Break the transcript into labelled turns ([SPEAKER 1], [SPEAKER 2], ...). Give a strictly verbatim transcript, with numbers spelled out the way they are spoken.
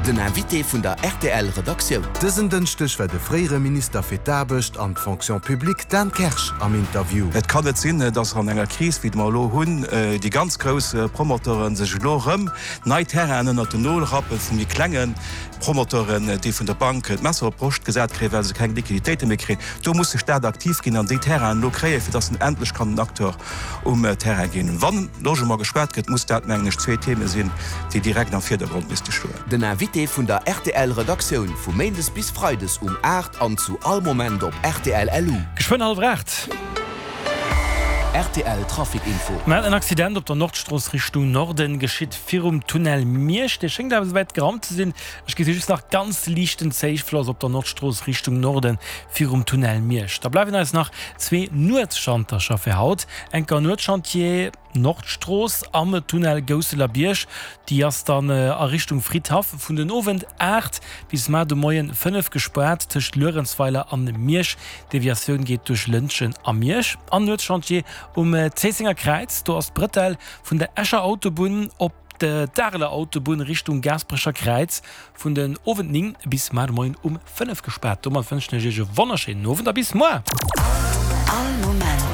[SPEAKER 1] Den Invité vun der rtl Redaktioun.
[SPEAKER 2] Dësen Dënschdeg war de fréiere Minister fir d'Aarbecht an d'Fonction publique Dan Kersch am Interview.
[SPEAKER 3] Et kann net sinn, datt an enger Kris wéi mer elo hunn, déi ganz grouss Promoteuren sech elo rëm nei Terrainen ënnert den Nol rappen vun méi klenge Promoteuren, déi vun der Bank d'Messer op d'Broscht gesat kréien, well se keng Liquiditéite méi kréien. Do muss de Staat aktiv ginn an déi Terrainen elo kréien, fir datt en endlech kann en Acteur um Terrain ginn. Wann Logement geschwat gëtt, muss dat, mengen ech, zwee Theme sinn, déi direkt am Virdergrond misste stoen.
[SPEAKER 1] Den Invité vun der rtl Redaktioun vu Méindes bis Freides um aacht an zu all Moment op rtl LU.
[SPEAKER 4] Geschwënn hallwer aacht.
[SPEAKER 1] Rtl Trafic Info.
[SPEAKER 4] Mer haten en Accident op der Nordstrooss Richtung Norden, geschitt virum Tunnel Miersch. Dee schéngt awer souwäit geraumt ze sinn. Ech gesi just nach ganz liichten Zéifloss op der Nordstrooss Richtung Norden virum Tunnel Miersch. Da bleiwen eis nach zwee Nuetsschantercher fir haut. Enker Nuetschantier Nordstrooss am Tunnel Gousseler Bierg. Déi ass dann a Richtung Fridhaff vun den Owend aacht bis mar de Moien fënnef gespaart tëscht Luerenzweiler an Miersch. Deviatioun geet duerch Lëntgen a Miersch. An Nuetschantier um Zéissenger Kräiz, do ass d'Brëtell vun der Escher Autobunn op d'Areler Autobunn Richtung Gaasperecher Kräiz vun den Owend néng bis mar de Moien um fënnef gespaart. Domat wënschen ech iech e wonnerschéinen Owend a bis moar!
[SPEAKER 5] All Moment